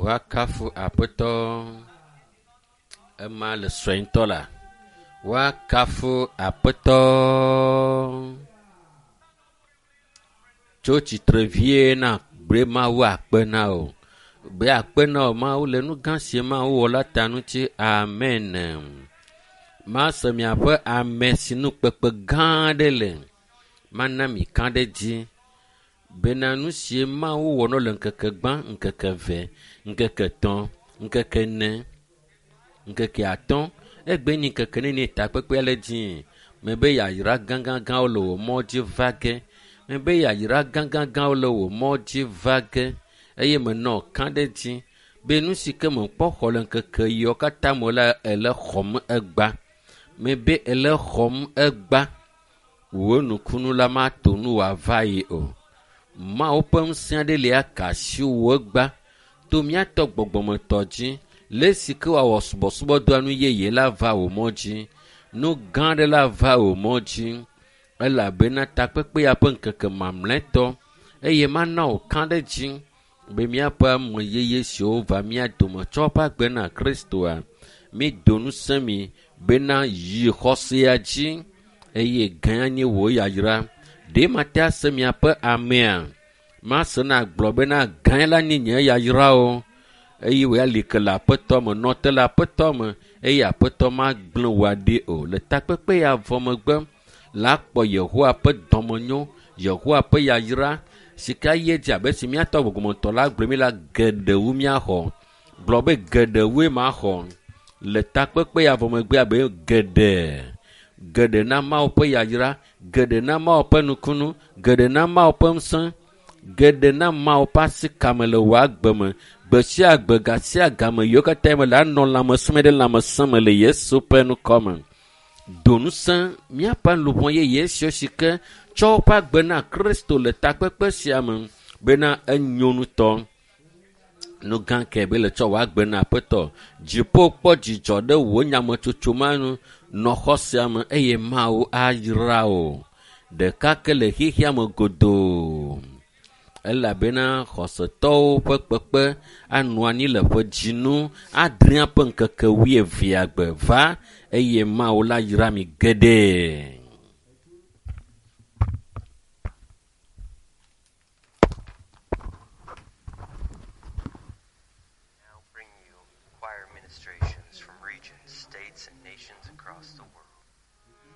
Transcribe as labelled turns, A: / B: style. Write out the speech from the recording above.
A: Woakafu Aƒetɔ. Ema le sue ŋutɔ la. Woakafu Aƒetɔ. Tso tsitre vie na gbe Mawu akpe na wò. Gbe akpe na wò Mawu le nu gã si Mawu wɔ la ta ŋuti. Amen. Mase miaƒe ame si nu kpekpe gã aɖe le. Mana mi ka ɖe dzi bena nu si Mawu wɔ nɔ le ŋkeke gbã, ŋkeke eve, ŋkeke etɔ̃, ŋkeke ene, ŋkeke atɔ̃, egbe nyi ŋkeke nene takpekpea le dzi. Mebe yayra gãgãgãwo le wò mɔ dzi va ge. Mebe yayra gãgãgãwo le wò mɔ dzi va ge eye menɔ ka ɖe dzi be nu si ke mekpɔ xɔ le ŋkeke yiwo katã me la ele xɔm egba. Mebe ele xɔm egba. Wò nukunu la mato nu wòava yi o. Mawu ƒe ŋusẽ aɖe li aka asi wò egba to míatɔ gbɔgbɔmetɔ dzi le esi ke wòawɔ subɔsubɔdɔa nu yeye la va wò mɔ dzi. Nu gã aɖe la va wò mɔ dzi elabena takpekpe ya ƒe ŋkeke mamlɛtɔ eye mana wò ka ɖe dzi be míaƒe ame yeye siwo va mía dome tsɔ woƒe agbe na Kristoa, mído ŋusẽ mi bena yi xɔsea dzi eye gã nye wò yayra. Ɖe mate ase miaƒe amea? Mase na gblɔ bena gã la nye nye yayra o eye wò ya li ke le Aƒetɔ me, nɔ te le Aƒetɔ me eye Aƒetɔ magblẽ wò aɖi o. Le takpekpe ya vɔ megbe la kpɔ Yehowa ƒe dɔmenyo, Yehowa ƒe yayra si ke ayi edzi abe si míatɔ gbɔgbɔmetɔ la gblɔe mi la geɖe wu míaxɔ. Gblɔ be geɖe wue maxɔ le takpekpe ya vɔ megbe abe geɖe geɖe na Mawu ƒe yayra, geɖe na Mawu ƒe nukunu, geɖe na Mawu ƒe ŋusẽ, geɖe na Mawu ƒe asikame le wò agbe me. Gbe sia gbe, ga sia game yiwo katã me le anɔ lãmesẽ me ɖe lãmesẽ me le Yesu ƒe ŋkɔ me. Do ŋusẽ míaƒe luʋɔ yeye siwo si ke tsɔ woƒe agbe na Kristo le takpekpe sia me bena enyo ŋutɔ. Nu gã ke be le tsɔ wò agbe na Aƒetɔ. Dziƒo kpɔ dzidzɔ ɖe wò nyametsotso ma nu. Nɔ xɔ sia me eye Mawu ayra wò. Ɖeka ke le xexea me godoo. Elabena xɔsetɔwo ƒe kpekpe anɔ anyi le ƒe dzinu adrea ƒe ŋkeke wuievea gbe va eye Mawu la yra mi geɖe.